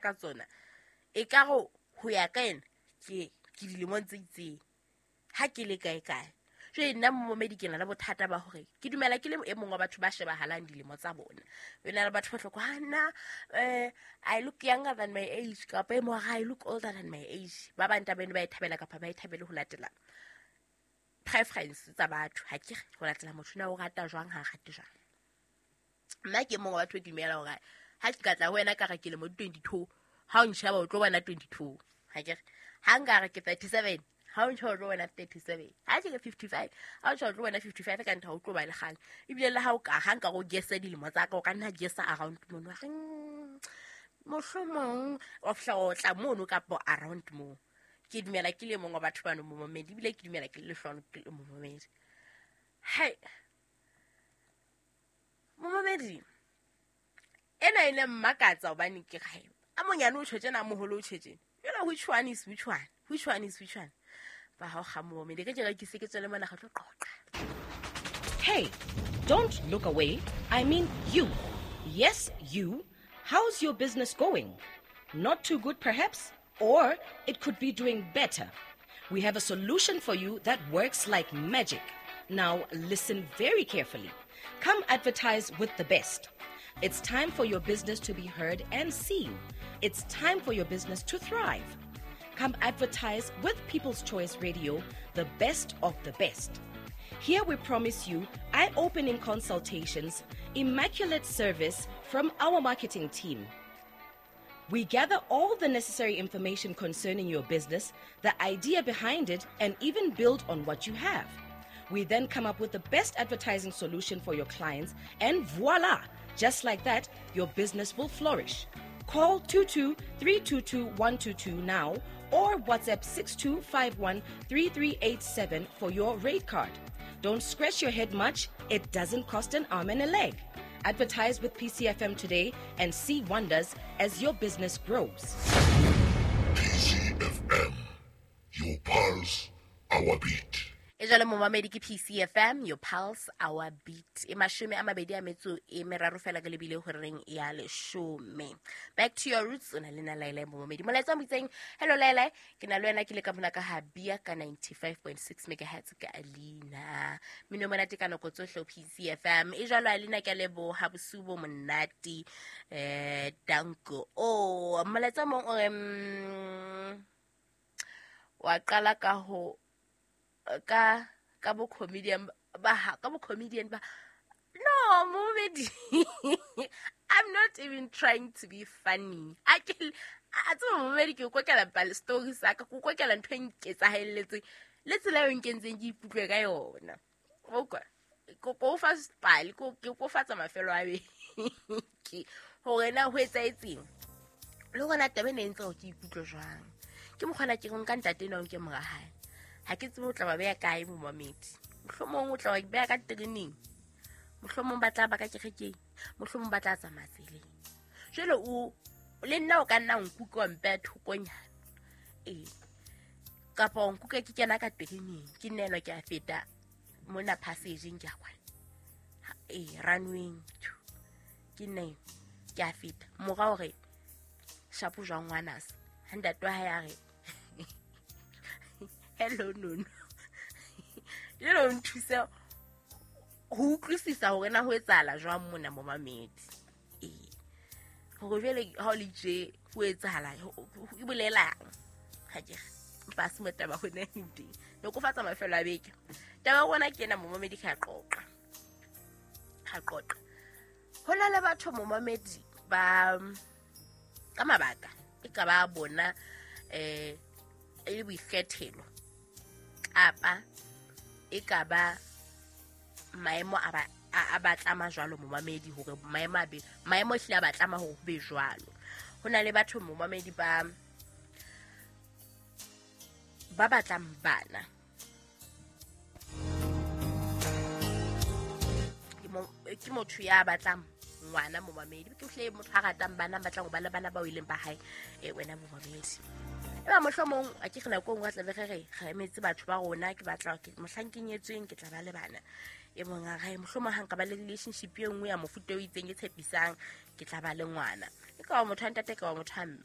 Ka tsona e ka go ho ya ka ena ke dilemong tse itseng ha ke le kae kae. Jwale nna momamedi ke na le bothata ba hore ke dumela ke le e mong wa batho ba shebahalang dilemo tsa bona. E na le batho ba hloko ha nna I look younger than my age, kapa e mong I look older than my age. Ba bang taba eno ba e thabela kapa ba e thabele ho latela preference tsa batho. Ha ke ho latela motho na o rata jwang, ha rate jwang. Nna ke mong wa batho e ke dumela hore ha ke ka tla ho wena ka re ke lemo di 22, ha o nsheba o tlo bona 22. Ha ke re ha nka re ke 37, ha o ntšha o tlo bona 37. Ha ke re 55, ha o ntšha o tlo bona 55. Ka ntha o tlo ba le kgang. Ebile le ha o ka ha nka go guessa dilemo tsa ka, o ka nna guessa around mono. Wa re, mohlomong wa fihla o tla mono kapa around moo. Ke dumela ke le mong wa batho bano momamedi, ebile ke dumela ke le lehlohonolo ke le momamedi. Hai, momamedi ena e ne mmakatsa hobane ke re a monyane o tjho tjena, a moholo o tjho tjena. Jwale which one is which one? Which one is which one? Ba ha o kga momamedi, ke ke se ke tswele mona re tlo qoqa. Hey, don't look away. I mean you. Yes, you. How's your business going? Not too good, perhaps? Or it could be doing better. We have a solution for you that works like magic. Now, listen very carefully. Come advertise with the best. It's time for your business to be heard and seen. It's time for your business to thrive. Come advertise with People's Choice Radio, the best of the best. Here we promise you eye-opening consultations, immaculate service from our marketing team. We gather all the necessary information concerning your business, the idea behind it, and even build on what you have. We then come up with the best advertising solution for your clients, and voila! Just like that, your business will flourish. Call 22-322-122 now or WhatsApp 6251-3387 for your rate card. Don't scratch your head much. It doesn't cost an arm and a leg. Advertise with PCFM today and see wonders as your business grows. PCFM, your pulse, our beat. E jwale momamedi ke PCFM, your pulse, our beat. E 23 fela ke lebile horeng ya 10. Back to your roots, o na le na Laila momamedi. Molaetsa o moitseng, hello Laila, ke na le wena ke le ka mona ka ha Bia ka 95.6 megahertz ka Alina. Mino monate ka nako tsohle PCFM. E jwalo Alina ke leboha bosiu bo monate. Danko. Oh, molaetsa mong o re wa qala ka ho ka bo comedian ba ka bo comedian ba. No, momedi, I'm not even trying to be funny. A tseba momedi ke kokela pale story sa ka, ke kokela ntho e nketsahelletseng le tsela eo nkentseng ke ikutlwe ka yona. Okay, ko fa pale, ke ko fatsa mafelo a beke hore na ho etsahetseng le hona taba ena e ntse ke ikutlwe jwang. Ke mokgona ke nka ntate enwa ke mora hae. Ha ke tsebe o tla ba beha kae momamedi. Mohlomong o tla ba beha ka tereneng, mohlomong ba tla ba ka kerekeng, mohlomong ba tla tsamaya tseleng. Jwale o le nna o ka nna nkuka wa mpeha thokonyana. Ee, kapa o nkuka ke kena ka tereneng, ke nna enwa ke a feta mona passage-eng ke a kwana. Ee, runway ke nna enwa ke a feta. Mora o re shapo jwang ngwanase, ha ntate wa hae a re hello nono. Le lo nthuse ho utlwisisa hore na ho etsahala jwang mona momamedi. Ee, hore jwale ha o le tje ho etsahala e bolelang. Ha ke re mpa se mo taba hona teng. Ne ko fatsa mafelo a beke. Taba rona ke ena momamedi ka qoqa. Ha qoqa. Ho na le batho momamedi ba ka mabaka e ka ba bona e le boikgethelo kapa e ka ba maemo a batlama jwalo momamedi, hore maemo a be maemo hle a batlama hore ho be jwalo. Ho na le batho momamedi ba batlang bana. Ke motho ya batlang ngwana momamedi, ke hle motho a ratang bana, batlang ho ba le bana bao e leng ba hae, wena momamedi. Eba mohlomong a ke re nako e nngwe a tla be re re re emetse batho ba rona, ke batla mohlang ke nyetsweng ke tla ba le bana. E mong a re mohlomong ha nka ba le relationship e nngwe ya mofuta o itseng e tshepisang ke tla ba le ngwana. Ka wa motho wa ntate, ka wa motho wa mme.